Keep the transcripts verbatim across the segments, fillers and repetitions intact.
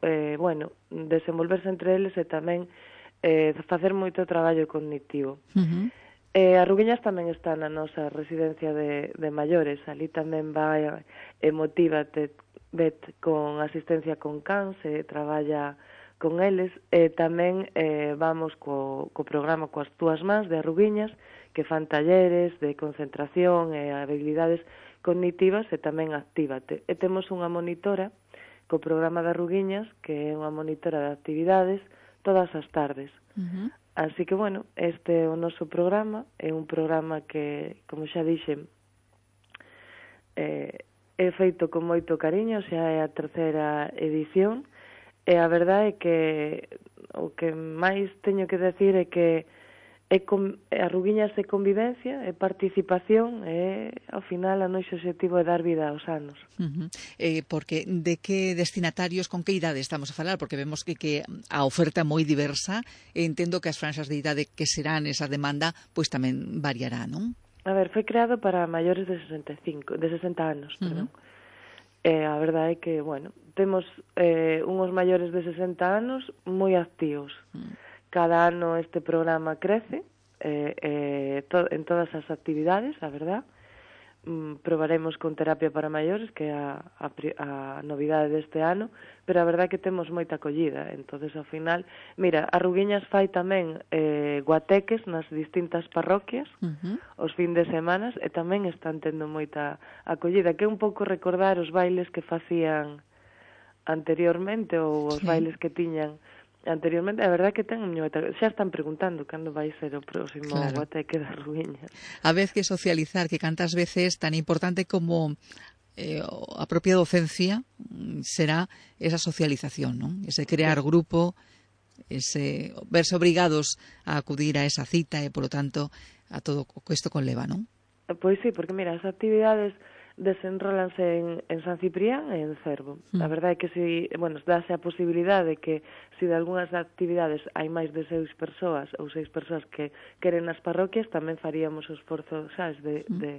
eh, bueno, desenvolverse entre eles e tamén eh, facer moito traballo cognitivo. Uh-huh. Eh, a Ruguiñas tamén está na nosa residencia de, de maiores, ali tamén vai Emotívate Bet con asistencia con cans, e traballa con eles, e tamén eh, vamos co, co programa Coas túas mans de Arruguiñas, que fan talleres de concentración e habilidades cognitivas, e tamén Actívate. E temos unha monitora co programa de Arruguiñas, que é unha monitora de actividades todas as tardes. Uh-huh. Así que, bueno, este é o noso programa, é un programa que, como xa dixen, eh, é feito con moito cariño, xa é a terceira edición, e a verdade é que o que máis teño que decir é que é con, Arruguiñas é convivencia, é participación, e ao final o noso objetivo é dar vida aos anos. Uh-huh. Eh, porque de que destinatarios, con que idade estamos a falar? Porque vemos que, que a oferta é moi diversa, e entendo que as franxas de idade que serán esa demanda, pois tamén variará, non? A ver, foi creado para maiores de sesenta e cinco, de sesenta anos, perdón. Uh-huh. E a verdade é que, bueno, temos eh, unhos maiores de sesenta anos moi activos. Uh-huh. Cada ano este programa crece eh, eh, to, en todas as actividades, a verdad. Mm, probaremos con terapia para maiores, que é a, a, a novidade deste ano, pero a verdad é que temos moita acollida. Entonces, ao final, mira, Arruguiñas fai tamén eh, guateques nas distintas parroquias, uh-huh. os fin de semanas, e tamén están tendo moita acollida, que é un pouco recordar os bailes que facían anteriormente, ou os sí. bailes que tiñan anteriormente. A verdade que ten xa están preguntando cando vai ser o próximo claro. guateque das Arruguiñas. A vez que socializar, que cantas veces tan importante como eh, a propia docencia será esa socialización, non? Ese crear sí. grupo, ese verse obrigados a acudir a esa cita e, polo tanto, a todo o que isto conleva, non? Pois sí, porque mira, as actividades desenrólanse en, en San Ciprián e en Cervo. Mm. A verdade é que si, bueno, dáse a posibilidade de que se si de algunhas actividades hai máis de seis persoas ou seis persoas que queren nas parroquias, tamén faríamos o esforzo, sabes, de, mm. de,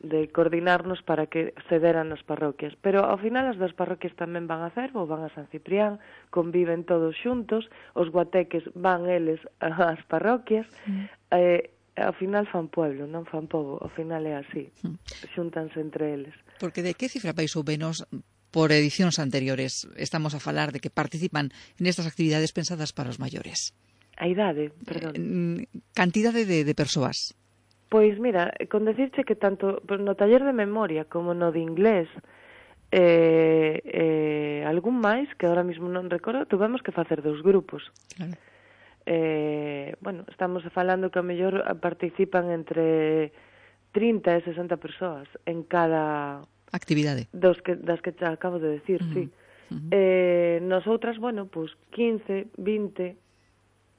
de coordinarnos para que se deran nas parroquias. Pero ao final as das parroquias tamén van a Cervo, van a San Ciprián, conviven todos xuntos, os guateques van eles ás parroquias, mm. eh, ao final fan pueblo, non fan pobo, ao final é así, xúntanse entre eles. Porque de que cifra máis ou menos por edicións anteriores estamos a falar de que participan nestas actividades pensadas para os maiores? A idade, perdón. Eh, cantidade de, de persoas? Pois mira, con decirche que tanto no taller de memoria como no de inglés, eh, eh, algún máis, que ahora mismo non recordo, tuvemos que facer dous grupos. Claro. Eh, bueno, estamos falando que a mellor participan entre trinta e sesenta persoas en cada actividade dos que, das que te acabo de decir, uh-huh. sí. Uh-huh. Eh, nosotras, bueno, pues quince, vinte,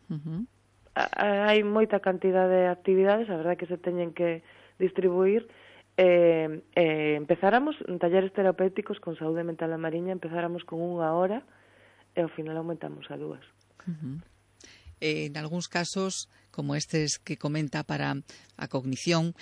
uh-huh. hai moita cantidade de actividades, a verdade que se teñen que distribuir. Eh, eh, empezáramos en talleres terapéuticos con saúde mental a mariña, empezáramos con unha hora e ao final aumentamos a dúas. Uh-huh. En algúns casos, como estes que comenta para a cognición,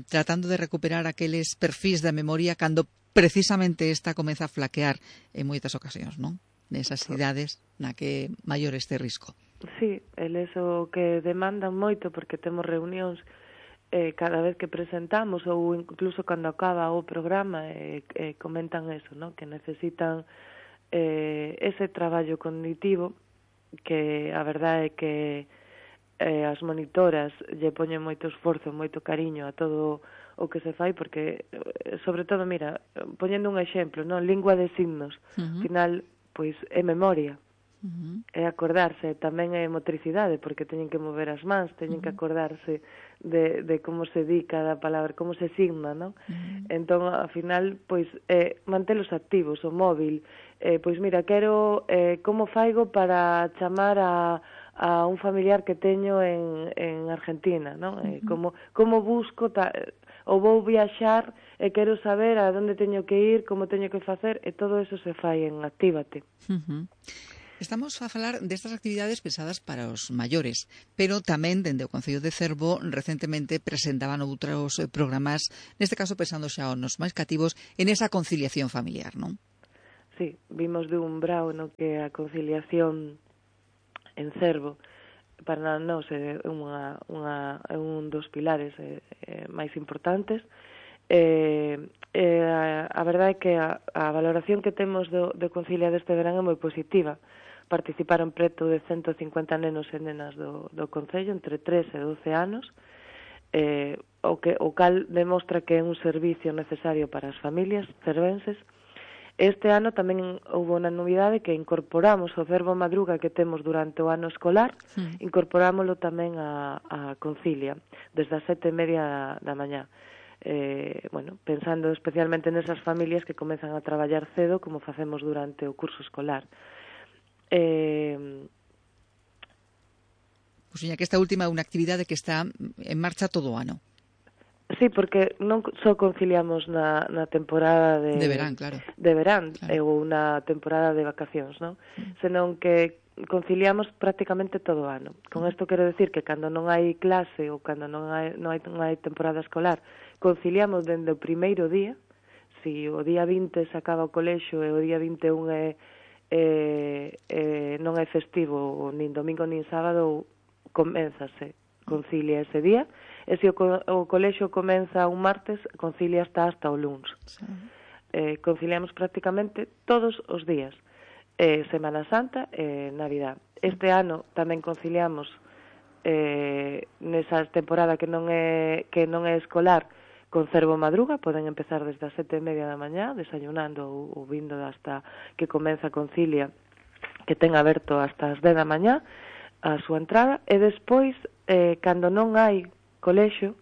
tratando de recuperar aqueles perfis da memoria cando precisamente esta comeza a flaquear en moitas ocasións, non? Nesas idades na que maior este risco. Sí, eles o que demandan moito, porque temos reunións eh, cada vez que presentamos ou incluso cando acaba o programa, eh, eh, comentan eso, non? Que necesitan eh, ese traballo cognitivo, que a verdade é que eh, as monitoras lle poñen moito esforzo, moito cariño a todo o que se fai, porque, sobre todo, mira, poñendo un exemplo, non, lingua de signos, uh-huh. final, pois, é memoria, uh-huh. é acordarse, tamén é motricidade, porque teñen que mover as mans, teñen uh-huh. que acordarse de, de como se di cada palabra, como se signa, non? Uh-huh. Entón, ao final, pois, é mantelos activos, o móvil, eh, pois mira, quero eh, como faigo para chamar a, a un familiar que teño en, en Argentina, non? Uh-huh. Eh, como, como busco, ta, ou vou viaxar e quero saber a onde teño que ir, como teño que facer, e todo eso se fai en Actívate. Uh-huh. Estamos a falar destas actividades pensadas para os maiores, pero tamén, dende o Concello de Cervo, recentemente presentaban outros programas, neste caso pensando xa nos máis cativos, en esa conciliación familiar, non? sí, vimos de un brao no que a conciliación en Cervo para nós é unha, unha, é un dos pilares eh, eh, máis importantes. Eh, eh, a, a verdade é que a, a valoración que temos do, do Concilia deste verán é moi positiva. Participaron preto de ciento cincuenta nenos e nenas do, do Concello entre tres e doce anos, eh, o, que, o cal demostra que é un servicio necesario para as familias cervenses. Este ano tamén houve unha novidade que incorporamos o Cervo Madruga que temos durante o ano escolar, sí. Incorporámoslo tamén a, a Concilia, desde as sete e media da mañá. Eh, bueno, pensando especialmente nesas familias que comezan a traballar cedo, como facemos durante o curso escolar. Eh, Pois, pues, que esta última é unha actividade que está en marcha todo o ano. Sí, porque non só conciliamos na, na temporada de, de verán, claro. de verán claro. ou na temporada de vacacións, non? Mm. Senón que conciliamos prácticamente todo o ano. Con isto quero decir que cando non hai clase ou cando non hai, non hai, non hai temporada escolar, conciliamos dende o primeiro día. Si o día vinte se acaba o colexio e o día vinte e un é, é, é, non é festivo, nin domingo nin sábado, coménzase, concilia ese día. E se o, co o colexio comeza un martes, concilia hasta hasta o luns. Sí. Eh, conciliamos prácticamente todos os días. Eh, Semana Santa e eh, Navidad. Este ano tamén conciliamos eh, nesa temporada que non é que non é escolar con Cervo Madruga, poden empezar desde as sete e media da mañá, desayunando ou, ou vindo hasta que comeza a concilia, que ten aberto hasta as dez da mañá a súa entrada, e despois, eh, cando non hai colexio,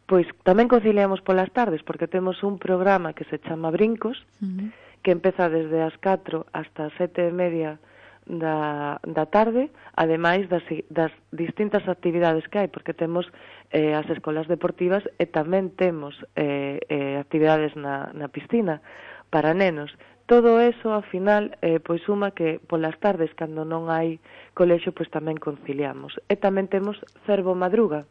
pois tamén conciliamos polas tardes, porque temos un programa que se chama Brincos, uh-huh. que empeza desde as catro hasta as sete e media da, da tarde, ademais das, das distintas actividades que hai, porque temos eh, as escolas deportivas e tamén temos eh, eh, actividades na, na piscina para nenos. Todo eso, ao final, eh, pois suma que polas tardes, cando non hai colexio, pois tamén conciliamos. E tamén temos Cervo Madruga,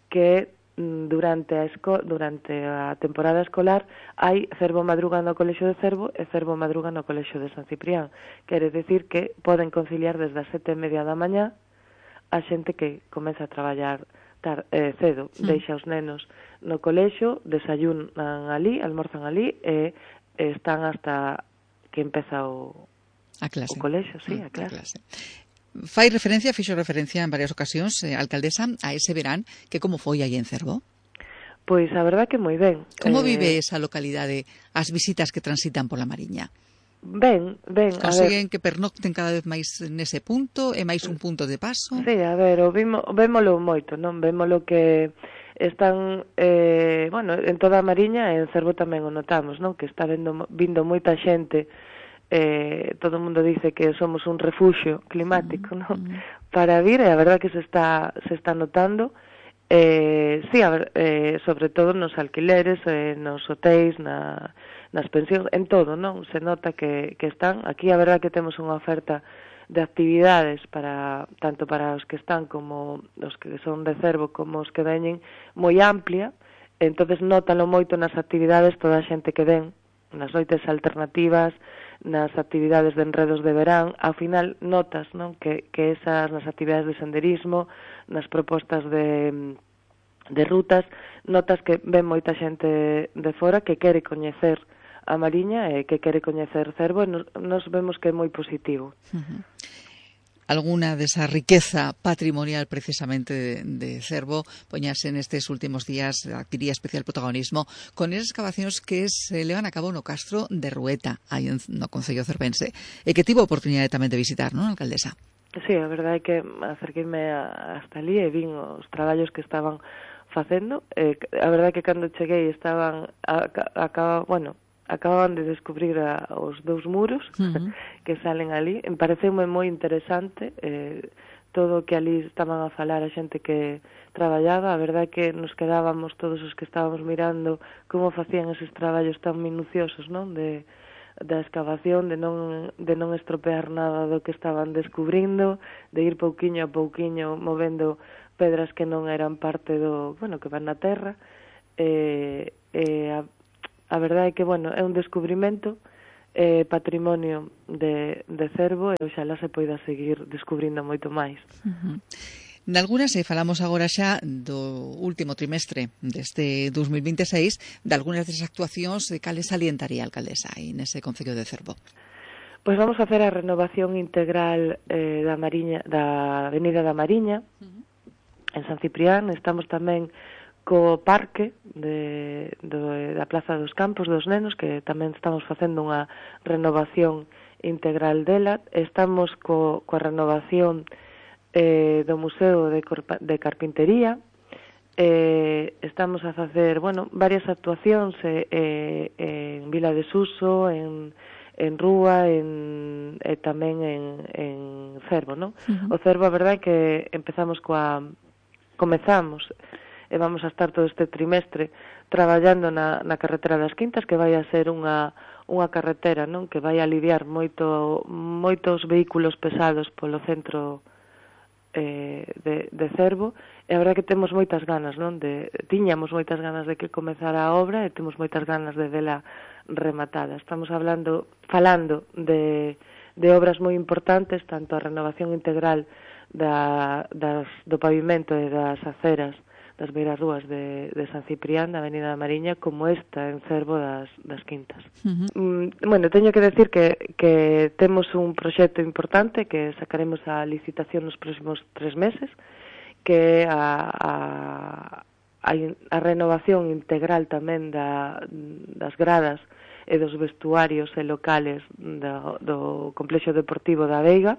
que durante a, esco durante a temporada escolar hai Cervo Madruga no Colexio de Cervo e Cervo Madruga no Colexio de San Ciprián. Quere decir que poden conciliar desde as sete e media da mañá a xente que comeza a traballar tar, eh, cedo, sí. Deixa os nenos no colexio, desayunan ali, almorzan ali e, e están hasta que empeza o, a clase. o colexio, sí, a clase. A clase. Fai referencia, fixo referencia en varias ocasións, eh, alcaldesa, a ese verán, que como foi aí en Cervo? Pois a verdad que moi ben. Como eh... vive esa localidade, as visitas que transitan pola Mariña? Ben, ben, a Consiguen ver. que pernocten cada vez máis nese punto, é máis un punto de paso? Sí, a ver, o vimo, vémolo moito, non? Vémolo que están, eh, bueno, en toda a Mariña e en Cervo tamén o notamos, non? Que está vendo, vindo moita xente. Eh, todo o mundo dice que somos un refuxio climático, ¿no? Mm. Para vir, e a verdad que se está se está notando, eh, sí, a ver, eh, sobre todo nos alquileres, eh, nos hotéis, na, nas pensións, en todo, non? Se nota que, que están, aquí a verdad que temos unha oferta de actividades para tanto para os que están como os que son de Cervo como os que veñen moi amplia, entonces nótalo moito nas actividades toda a xente que ven, nas noites alternativas, nas actividades de enredos de verán, ao final notas, non, que, que esas, nas actividades de senderismo, nas propostas de, de rutas, notas que ven moita xente de fora que quere coñecer a Mariña e que quere coñecer Cervo, e nos, nos vemos que é moi positivo. Uh-huh. Alguna desa riqueza patrimonial precisamente de, de Cervo poñase nestes últimos días, adquiría especial protagonismo con esas excavacións que se levan a cabo no Castro de Rueta, aí no Concello cervense, e que tivo a oportunidade tamén de visitar, non, alcaldesa? Sí, a verdade é que acerqueime hasta ali e vin os traballos que estaban facendo. Eh, a verdade é que cando cheguei estaban, a, a, a, bueno, acababan de descubrir a, os dous muros uh-huh. que salen ali. Me pareceume moi interesante eh, todo o que ali estaban a falar a xente que traballaba. A verdade é que nos quedábamos todos os que estábamos mirando como facían eses traballos tan minuciosos, non? De, da excavación, de non, de non estropear nada do que estaban descubrindo, de ir pouquiño a pouquiño movendo pedras que non eran parte do, bueno, que van na terra. Eh, eh, a, A verdade é que, bueno, é un descubrimento eh, patrimonio de, de Cervo e oxalá se poida seguir descubrindo moito máis. Uh-huh. Nalgunas, e falamos agora xa do último trimestre deste dos mil vinte e seis, de algunhas desas actuacións de cales salientaría a alcaldesa aí nese Concello de Cervo. Pois vamos a facer a renovación integral eh, da Mariña, da Avenida da Mariña, uh-huh. en San Ciprián. Estamos tamén co parque de, do, da Plaza dos Campos dos Nenos, que tamén estamos facendo unha renovación integral dela. Estamos co, coa renovación eh, do Museo de, Corpa, de Carpintería. Eh, estamos a facer, bueno, varias actuacións eh, eh, en Vila de Suso, en en Rúa, en, e tamén en, en Cervo, non? Uh-huh. O Cervo, a verdade é que empezamos coa... comezamos, e vamos a estar todo este trimestre traballando na, na carretera das Quintas, que vai a ser unha, unha carretera, non? Que vai a aliviar moito, moitos vehículos pesados polo centro eh, de, de Cervo, e a verdade é que temos moitas ganas, non? De, tiñamos moitas ganas de que comezara a obra e temos moitas ganas de vela rematada. Estamos hablando, falando de, de obras moi importantes, tanto a renovación integral da, das, do pavimento e das aceras das beirarrúas de, de San Ciprián, da Avenida da Mariña, como esta en Cervo das, das Quintas. Uh-huh. Mm, bueno, teño que decir que, que temos un proxecto importante que sacaremos a licitación nos próximos tres meses, que é a, a a, a renovación integral tamén da, das gradas e dos vestuarios e locales do, do complexo deportivo da Veiga.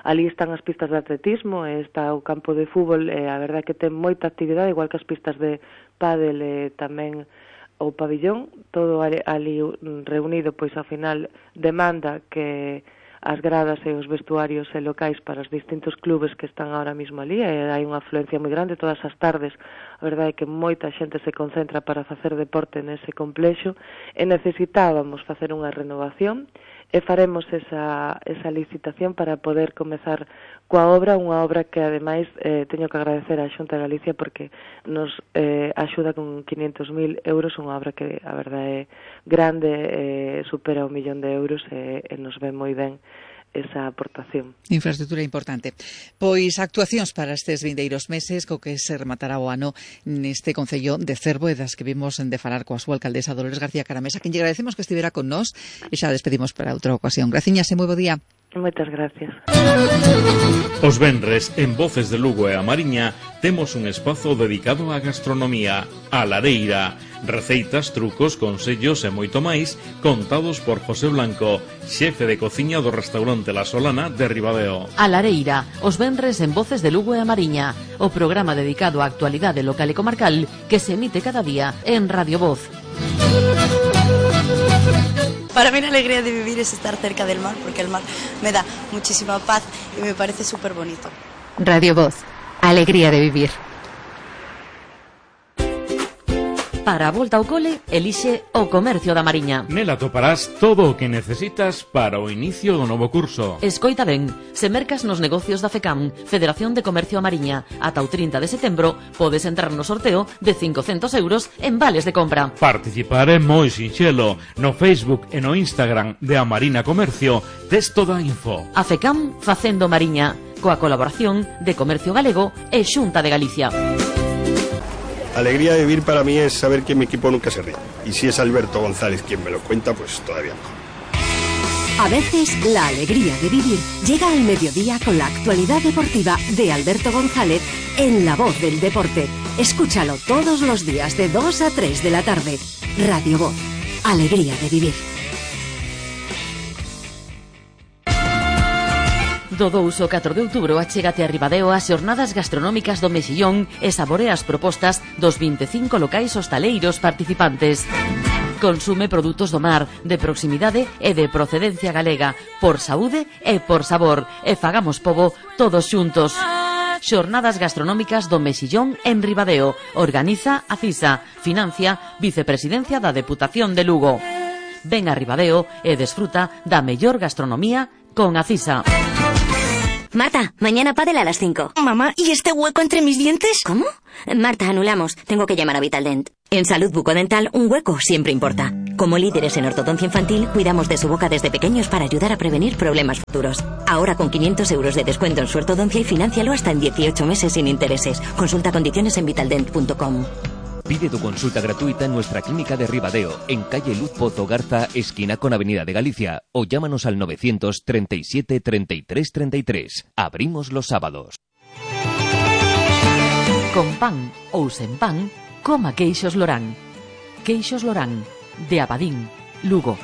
Ali están as pistas de atletismo, e está o campo de fútbol, e a verdade é que ten moita actividade, igual que as pistas de pádel e tamén o pabillón, todo ali, ali reunido, pois ao final demanda que as gradas e os vestuarios e locais para os distintos clubes que están ahora mismo ali, e hai unha afluencia moi grande todas as tardes. A verdade é que moita xente se concentra para facer deporte nese complexo, e necesitábamos facer unha renovación, e faremos esa, esa licitación para poder comezar coa obra, unha obra que ademais eh, teño que agradecer á Xunta de Galicia porque nos eh, axuda con quinhentos mil euros, unha obra que a verdade é grande, eh, supera un millón de euros e, e nos ven moi ben esa aportación. Infraestructura importante. Pois actuacións para estes vindeiros meses co que se rematará o ano neste Concello de Cervo, e das que vimos de falar coa súa alcaldesa Dolores García Caramesa, quen lle agradecemos que estivera con nós, e xa despedimos para outra ocasión. Graciñas e moi bo día. Moitas gracias. Os venres, en Voces de Lugo e a Mariña, temos un espazo dedicado á gastronomía, a Lareira. Receitas, trucos, consellos e moito máis, contados por José Blanco, xefe de cociña do restaurante La Solana de Ribadeo. A Lareira, os venres en Voces de Lugo e a Mariña, o programa dedicado á actualidade local e comarcal que se emite cada día en Radio Voz. Para mí la alegría de vivir es estar cerca del mar, porque el mar me da muchísima paz y me parece súper bonito. Radio Voz, alegría de vivir. Para a volta ao cole, elixe o Comercio da Mariña. Nela toparás todo o que necesitas para o inicio do novo curso. Escoita ben, se mercas nos negocios da FECAM, Federación de Comercio a Mariña, ata o trinta de setembro, podes entrar no sorteo de cincocentos euros en vales de compra. Participar é moi sinxelo. No Facebook e no Instagram de A Marina Comercio tes toda a info. A FECAM facendo Mariña, coa colaboración de Comercio Galego e Xunta de Galicia. Alegría de vivir para mí es saber que mi equipo nunca se ríe. Y si es Alberto González quien me lo cuenta, pues todavía mejor. A veces, la alegría de vivir llega al mediodía con la actualidad deportiva de Alberto González en La Voz del Deporte. Escúchalo todos los días de dos a tres de la tarde. Radio Voz. Alegría de vivir. Do dous ao catro de outubro achégate a Ribadeo ás xornadas gastronómicas do Mexillón e saborea as propostas dos vinte e cinco locais hostaleiros participantes. Consume produtos do mar, de proximidade e de procedencia galega, por saúde e por sabor, e fagamos pobo todos xuntos. Xornadas gastronómicas do Mexillón en Ribadeo. Organiza a CISA. Financia Vicepresidencia da Deputación de Lugo. Ven a Ribadeo e desfruta da mellor gastronomía con a CISA. Marta, mañana pádel a las cinco. Mamá, ¿y este hueco entre mis dientes? ¿Cómo? Marta, anulamos. Tengo que llamar a Vitaldent. En Salud Bucodental, un hueco siempre importa. Como líderes en ortodoncia infantil, cuidamos de su boca desde pequeños para ayudar a prevenir problemas futuros. Ahora con quinientos euros de descuento en su ortodoncia y financialo hasta en dieciocho meses sin intereses. Consulta condiciones en vitaldent punto com. Pide tu consulta gratuita en nuestra clínica de Ribadeo, en calle Luz Pozo Garza, esquina con Avenida de Galicia, o llámanos al novecientos treinta y siete treinta y tres treinta y tres. Abrimos los sábados. Con pan ou sen pan, coma queixos Lorán. Queixos Lorán, de Abadín, Lugo.